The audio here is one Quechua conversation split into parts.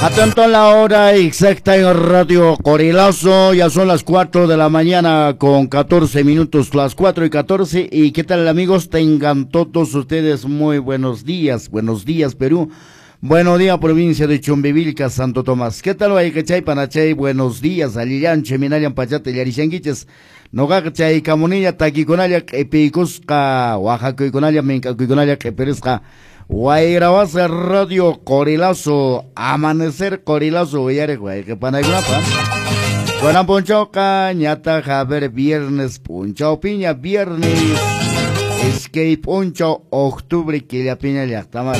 Atento a la hora exacta en Radio Qorilazo, ya son las 4 de la mañana con 14 minutos, las 4:14. ¿Y qué tal, amigos? Tengan todos ustedes muy buenos días, Perú. Buenos días, provincia de Chumbivilca, Santo Tomás. ¿Qué tal, wayqichay, panachay? Buenos días, allillanche, minallan pachata, llarishanguiches. Noqaqa chaykamunilla takikunalla q'ipiykusqa, waqakuykunalla, mink'akuykunalla q'ipirisqa. Wayrawasa Radio Qorilazo, Amanecer Qorilazo, uyariq wayqi panaykunapa. Kunan p'unchawqa ñataq, a ver, viernes p'unchawpiña, viernes iskay p'unchaw octubre killapiña, llaqtamas.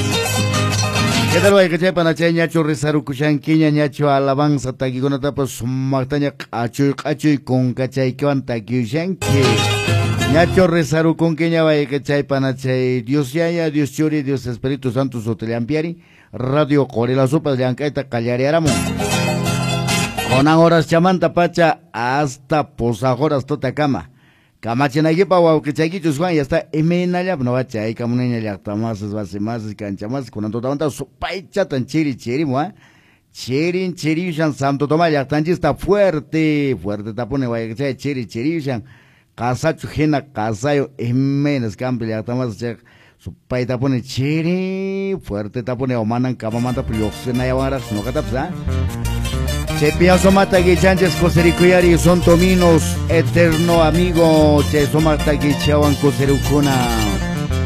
¿Qué tal, wayqichay, panachay? Ñachu risarukushankiña, ñachu alabanza takikunatapas sumaqtaña q'achuy q'achuy kunkachaykiwan takiyushanki? Ñachu risarukunkiña, wayqichay, panachay? Dios Yaya, Dios Churi, Dios Espíritu Santo sutillanpiari, Radio Qorilazopas llank'ayta qallariyaramun. Kunan horas chamanta pacha hasta pusaq horas tutakama. Kamachinaykipa wawqichaykichus Juan ya está imaynallap no chaykamuniña llaqtamasis, wasimasis, kanchamasis. Kunan tutamanta supaychatan chiri chirimu, ¿ah? Chirin chiriyushan Santo Tomás llaqtanchista, fuerte, fuerte tapuni, wayqichay, chiri chiriyushan. Qasachu hina qasayu imaynas kampi, llaqtamasis, chayqa supaytapuni chiri fuerte tapuni, o manan kamamanta lluqsinayawanraqsi ñuqatapas, ¿ah? Chaypiña sumaqta kichanchis kusirikuyari, son tominos, eterno amigo, chay sumaqta kichawan kusirukuna.